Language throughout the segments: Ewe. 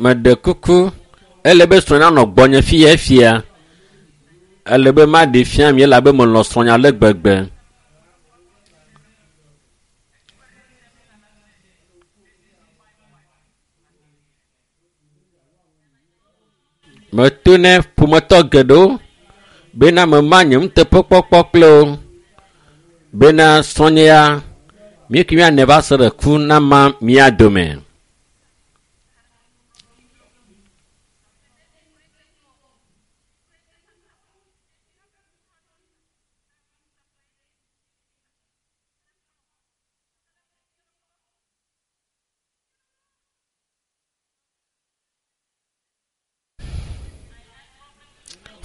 Meɖe kuku ele be srɔ̃ nanɔ gbɔnye fiya fia. Ele be maɖe fia mi elabe melɔ̃ srɔ̃nya ale gbegbe. Meto ne ƒometɔ geɖewo bena mema nye nuteƒekpɔkpɔ kple wo bena srɔ̃nye ya mi ke míanɛ va se ɖe ku nama mía dome.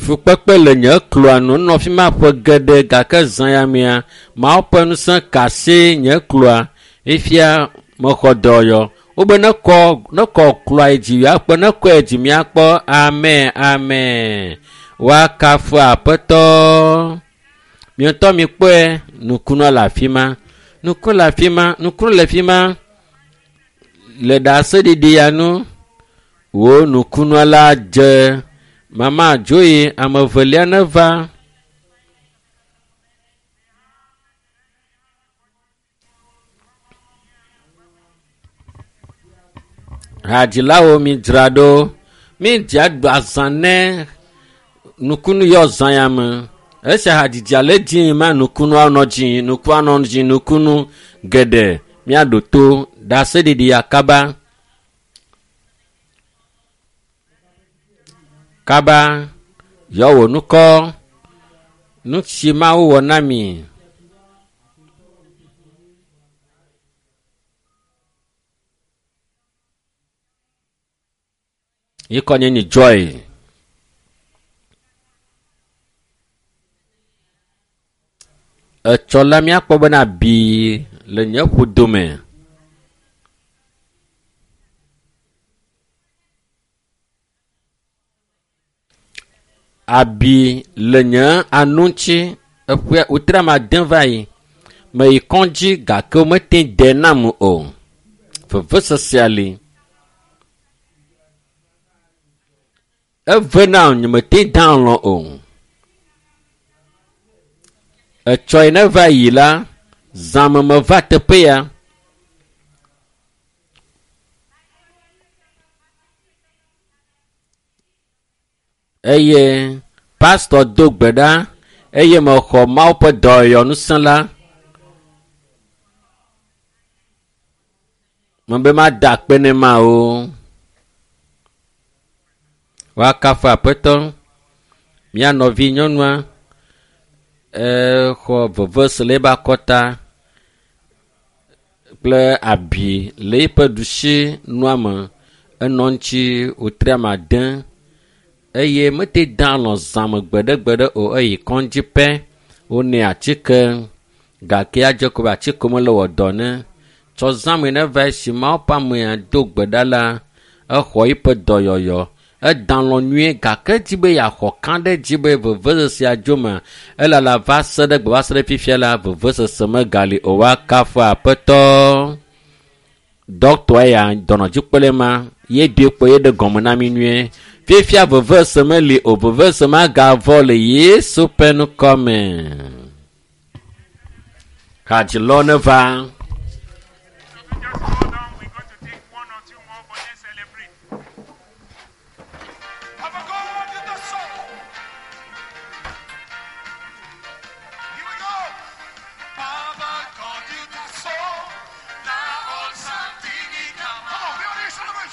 Fukpekpe le nye kloa nu nɔ fi ma ƒe geɖe gake zã ya mea Mawu ƒe ŋusẽ ka asi nye kloa efia mexɔ dɔyɔ. Wobe nekɔ nekɔ kloa yi dzi akpɔ nekɔe dzi miakpɔ amen amen. Woakafu aƒetɔ. Miatɔ mikpɔe nukunua le afi ma. Nuku le afi ma nukunu le afi ma le ɖaseɖiɖi ya nu wo nukunua la dze. Mama Joy ame evelia neva. Hadzilawo mi dzra ɖo. Mi dza ɖu azã ne nukunu yɔ zã ya me. Esia hadzidzia le dzi ma nukunua nɔ dzi nukua nɔ dzi nukunu geɖe miaɖo to ɖaseɖiɖi ya kaba. Kaba yɔ wò ŋkɔ nu si Mawu wɔ na mi. Yi kɔ nye nyi Joy. Etsɔ la míakpɔ bena abi le nye ƒodome. Abi le nye anu ŋuti eƒe wòtre ame ade va yi. Meyi kɔdzi gake womete de nam o. Vevesesea li. Eve nam nyemete da alɔ̃ o. Etsɔ yi ne va yi la, zãme meva teƒe ya. Eye pastɔ do gbe ɖa eye mexɔ Mawu ƒe dɔyɔnusẽ la. Mebe mada akpe ne Mawu. Woakafu aƒetɔ. Mía nɔvi nyɔnua exɔ veve se le eƒe akɔta kple abi le eƒe ɖusi nua me. Enɔ ŋuti wòtre ame ade eye mete da alɔ̃ zãme gbeɖegbeɖe o eyi kɔdzi pɛ wonɛ atike gake adze ko be atike mele wɔ dɔ ne. Tsɔ zãme ne va esi Mawu ƒe amea do gbe ɖa la, exɔ eƒe dɔyɔyɔ. Eda alɔ̃ nyuie gake edzi be yeaxɔ ka ɖe edzi be vevesesea dzo me. Elala va se ɖe gbe va se ɖe fifia la vevesese megali o. Woakafu aƒetɔ. Dɔkitɔa ya dɔnɔdzikpɔlae ma ye doe kpɔ ye ɖe gɔme na mi nyuie. Fifia vevesese meli o vevesese magavɔ le Yesu ƒe ŋkɔ me. Hadzilɔ neva. Just hold on. We're going to take one or two more, but let's celebrate. Have a go.